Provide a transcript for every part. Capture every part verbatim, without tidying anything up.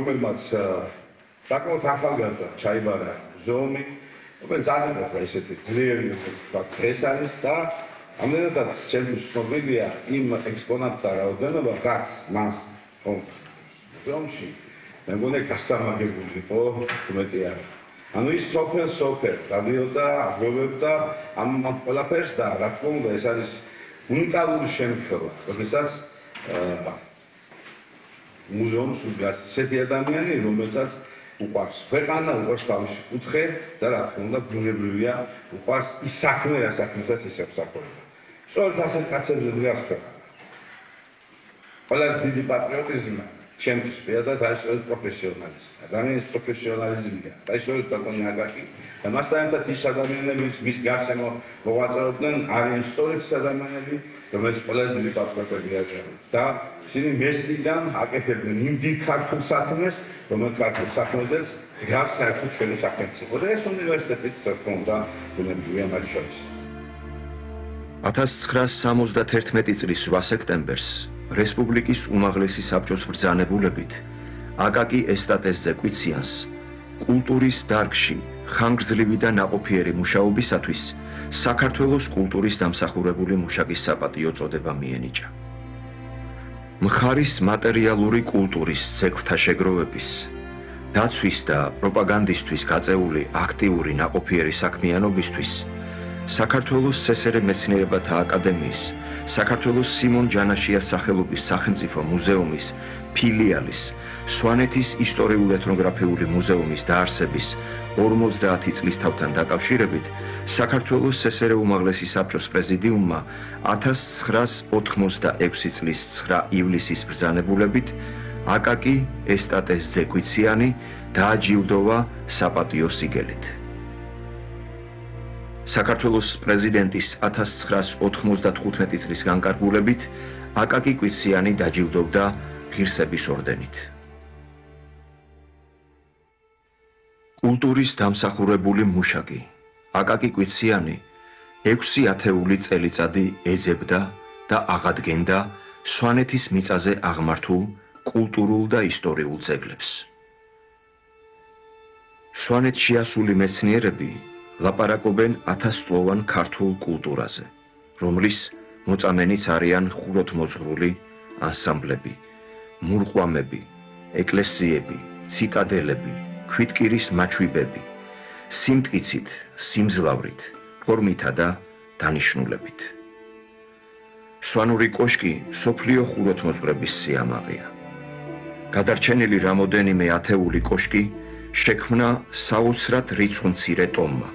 რომელმაც საკმაოდ ახალგაზრდა ჩაიბარა მუზეუმი, რომელიც ძალიან ახლა ისეთი ძლიერი დღეს არის და ამდენადაც ჩემთვის ცნობილია იმ ექსპონატთა რაოდენობა, რაც მას მუზეუმში მე მგონი გასამაგებული იყო უმეტი არა. ანუ ის სოფელ სოფელ გადიოდა, აგროვებდა ამ ყველაფერს და რა თქმა უნდა ეს არის უნიკალური შემთხვევა, როდესაც მუზეუმს უდგას ისეთი ადამიანი, რომელსაც უყვარს ქვეყანა, უყვარს თავისი კუთხე და რა თქმა უნდა ბუნებრივია უყვარს ის საქმე, რა საქმესაც ის ემსახურება. სწორედ ასეთ კაცებზე დგას ქვეყანა. ყველაზე დიდი პატრიოტიზმი ჩემთვის პირადად არის სწორედ პროფესიონალიზმი. ადამიანის პროფესიონალიზმია. და სწორედ ბატონი აკაკი და მასთან ერთად ის ადამიანები, მის გარშემო მოღვაწეობდნენ, არიან სწორედ ის ადამიანები, რომელიც ყველაზე დიდი პატრიოტები არიან. და ისინი მესტიდან აკეთებდნენ იმ დიდ ქართულ საქმეს, რომელიც ქართულ საქმეზეც დგას საერთოდ ჩვენი სახელმწიფო. და ეს უნივერსიტეტიც რა თქმა უნდა ბუნებრივია მათ შორის. ათას ცხრაას სამოცდათერთმეტი წლის ოქტომბრის სექტემბერს რესპუბლიკის უმაღლესი საბჭოს ბრძანებულებით აკაკი ესტატეს ზეკვიციანს კულტურის დარგში ხანგრძლივი და ნაყოფიერი მუშაობისათვის საქართველოს კულტურის დამსახურებული მუშაკის საპატიო წოდება მიენიჭა. მხარის მატერიალური კულტურის ძეგლთა შეგროვების, დაცვის და პროპაგანდისთვის გაწეული აქტიური ნაყოფიერი საქმიანობისთვის საქართველოს სესერე მეცნიერებათა აკადემიის, საქართველოს სიმონ ჯანაშიას სახელობის სახელმწიფო მუზეუმის ფილიალის, სვანეთის ისტორიულ-ეთნოგრაფიული მუზეუმის დაარსების ორმოცდაათი წლისთავთან დაკავშირებით საქართველოს სესერე უმაღლესი საბჭოს პრეზიდიუმმა ათას ცხრაას ოთხმოცდაექვსი წლის ცხრა ივლისის ბრძანებულებით აკაკი ესტატეს ზეკვიციანი დააჯილდოვა საპატიო სიგელით. საქართველოს პრეზიდენტის ათას ცხრაას ოთხმოცდათხუთმეტი წლის განკარგულებით აკაკი კვიციანი დაჯილდოვდა ღირსების ორდენით. კულტურის დამსახურებული მუშაკი აკაკი კვიციანი ექვსი ათეული წელიწადი ეძებდა და აღადგენდა სვანეთის მიწაზე აღმართულ კულტურულ და ისტორიულ ძეგლებს. სვანეთში ასული მეცნიერები ლაპარაკობენ ათასწლოვან ქართულ კულტურაზე, რომლის მოწამენიც არიან ხუროთმოძღვრული ანსამბლები, მურყვამები, ეკლესიები, ციტადელები, ქვითკირის მაჩვიბები, სიმტკიცით, სიმძლავრით, ფორმითა და დანიშნულებით. სვანური კოშკი სოფლიო ხუროთმოძღვრების სიამაყეა. გადარჩენილი რამოდენიმე ათეული კოშკი შექმნა საოცრად რიცხმცირე ტომმა.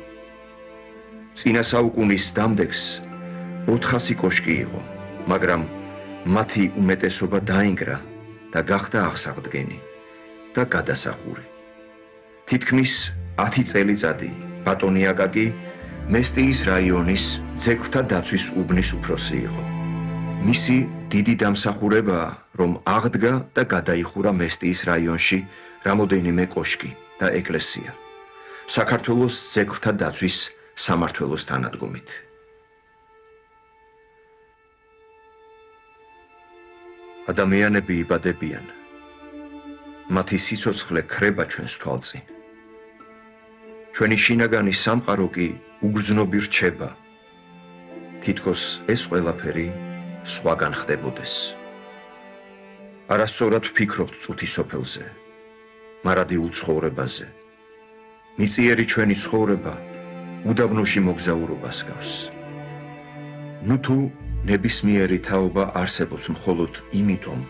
წინა საუკუნის დამდეგს ოთხასი კოშკი იყო, მაგრამ მათი უმეტესობა დაინგრა და გახდა აღსავდგენი და გადასახური. თითქმის ათი წელიწადი ბატონი აკაკი მესტიის რაიონის ძეგლთა დაცვის უბნის უფროსი იყო. მისი დიდი დამსახურებაა, რომ აღდგა და გადაიხურა მესტიის რაიონში რამოდენიმე კოშკი და ეკლესია, საქართველოს ძეგლთა დაცვის სამმართველოს თანადგომით. ადამიანები იბადებიან, მათი სიცოცხლე ქრება ჩვენს თვალწინ. ჩვენი შინაგანი სამყარო კი უგრძნობი რჩება, თითქოს ეს ყველაფერი სხვაგან ხდებოდეს. არასწორად ვფიქრობთ წუთი სოფელზე, მარადილ ცხოვრებაზე. მიწიერი ჩვენი ცხოვრება უდაბნოში მოგზაურობას გავს. ნუ თუ ნებისმიერი თაობა არსებობს მხოლოდ იმიტომ,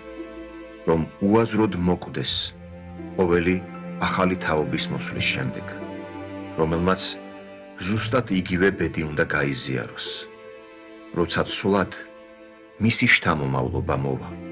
რომ უაზროდ მოკვდეს ყოველი ახალი თაობის მოსვლის შემდეგ, რომელმაც ზუსტად იგივე ბედი უნდა გაიზიაროს, როცა ცვლად მისი შთამომავლობა მოვა.